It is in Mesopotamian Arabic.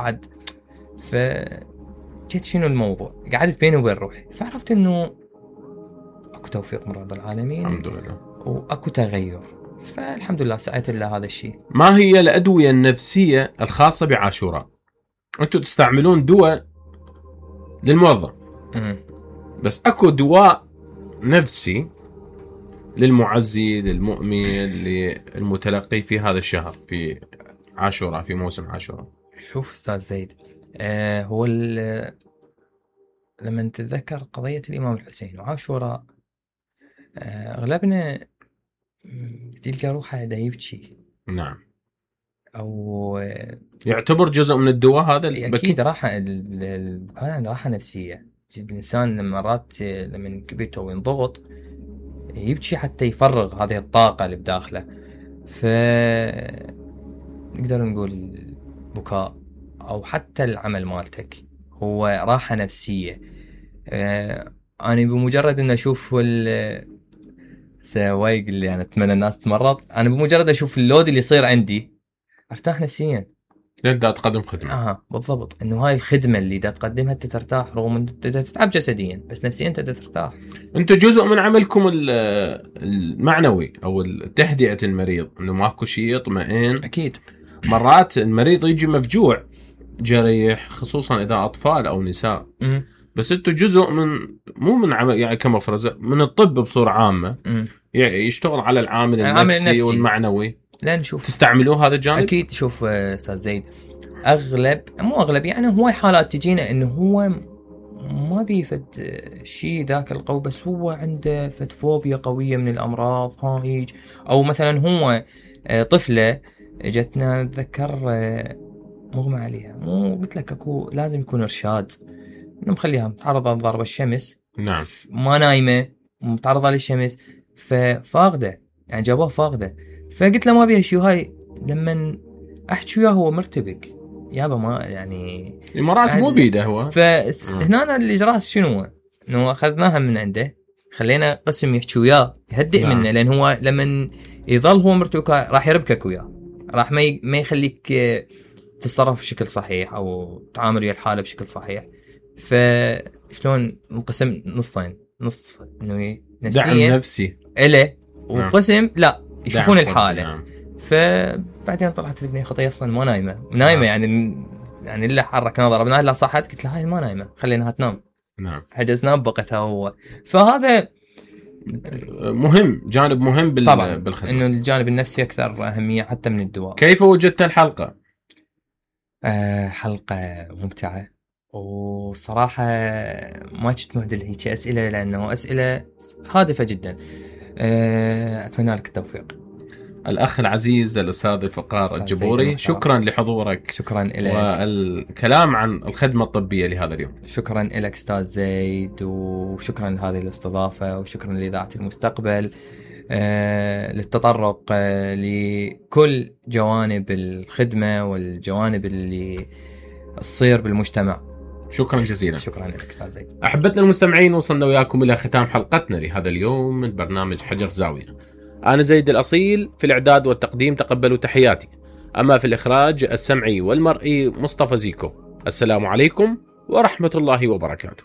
بعد. فجيت شنو الموضوع، قعدت بيني وبين روحي، فعرفت انه اكو توفيق من رب العالمين الحمد لله، واكو تغير، فالحمد لله سعيت لله هذا الشيء. ما هي الادويه النفسيه الخاصه بعاشوراء؟ انتم تستعملون دواء للموظف بس اكو دواء نفسي للمعزي للمؤمن للمتلقي في هذا الشهر، في عاشوراء، في موسم عاشوراء؟ شوف استاذ زيد، هو لما تتذكر قضية الإمام الحسين وعاشوراء، أغلبنا تلقى روحه دا يبكي. نعم. أو يعتبر جزء من الدواء هذا البكي؟ أكيد راحة، هذا راحة نفسية. الإنسان مرات لما كبيته وينضغط يبكي حتى يفرغ هذه الطاقة اللي بداخله. نقدر نقول بكاء أو حتى العمل مالتك هو راحة نفسية. أنا بمجرد أن أشوف سوايق اللي أنا أتمنى الناس تمرض، أنا بمجرد أشوف اللود اللي يصير عندي أرتاح نفسيا. دا تقدم خدمة. بالضبط، إنه هاي الخدمة اللي دا تقدمها أنت ترتاح، رغم أنت تتعب جسديا بس نفسيا أنت دا ترتاح. أنت جزء من عملكم المعنوي أو تهدئة المريض، إنه ماكو شيء يطمئن. أكيد. مرات المريض يجي مفجوع جريح، خصوصا إذا أطفال أو نساء. بس أنتوا جزء من، مو من عمل يعني كمفرزة، من الطب بصورة عامة. يعني يشتغل على العامل النفسي والمعنوي. لا نشوف تستعملوه هذا الجانب؟ أكيد. شوف أستاذ زيد، مو أغلب يعني، هو حالات تجينا إنه هو ما بيفد شيء ذاك القوي، بس هو عنده فوبيا قوية من الأمراض هايج، أو مثلا هو طفلة جتنا نتذكر مغمى عليها، مو قلت لك أكو لازم يكون إرشاد إنه مخليها متعرضة لضرب الشمس. نعم. ما نايمة، متعرضة للشمس، ففاقدة يعني جابوها فاقدة. فقلت له ما بيها شيء، هاي لما أحكي وياه هو مرتبك يابا، ما يعني مرات مو بيده هو. فهنا الإجراء شنو؟ إنه أخذناها من عنده، خلينا قسم يحكي وياه يهدئ منه، لأن هو لما يظل هو مرتبك راح يربكك وياه، راح ما يخليك تتصرف بشكل صحيح أو تعامل ويا الحالة بشكل صحيح. فشلون نقسم نصين، نص إنه دعم نفسي إله، وقسم لا يشوفون الحالة. نعم. فبعدين طلعت لي خطية أصلا ما نايمة يعني إلا حركنا ضربناها لا صحت، قلت لها هاي ما نايمة خليناها تنام. نعم. حجزنا بقتها هو. فهذا مهم، جانب مهم بالخدمة، إنه الجانب النفسي أكثر أهمية حتى من الدواء. كيف وجدت الحلقة؟ حلقة ممتعة، وصراحة ما كنت معدل هيك أسئلة، لأنه أسئلة هادفة جدا. أتمنى لك التوفيق. الأخ العزيز الأستاذ فقار الجبوري، شكرا لحضورك. شكرا لك والكلام عن الخدمة الطبية لهذا اليوم. شكرا لك أستاذ زيد، وشكرا لهذه الاستضافة، وشكرا لإذاعة المستقبل للتطرق لكل جوانب الخدمة والجوانب اللي تصير بالمجتمع. شكرا جزيلا. شكرا لك أستاذ زيد. أحبتنا المستمعين، وصلنا وياكم إلى ختام حلقتنا لهذا اليوم من برنامج حجر زاوية. أنا زيد الأصيل، في الإعداد والتقديم تقبلوا تحياتي، أما في الإخراج السمعي والمرئي مصطفى زيكو. السلام عليكم ورحمة الله وبركاته.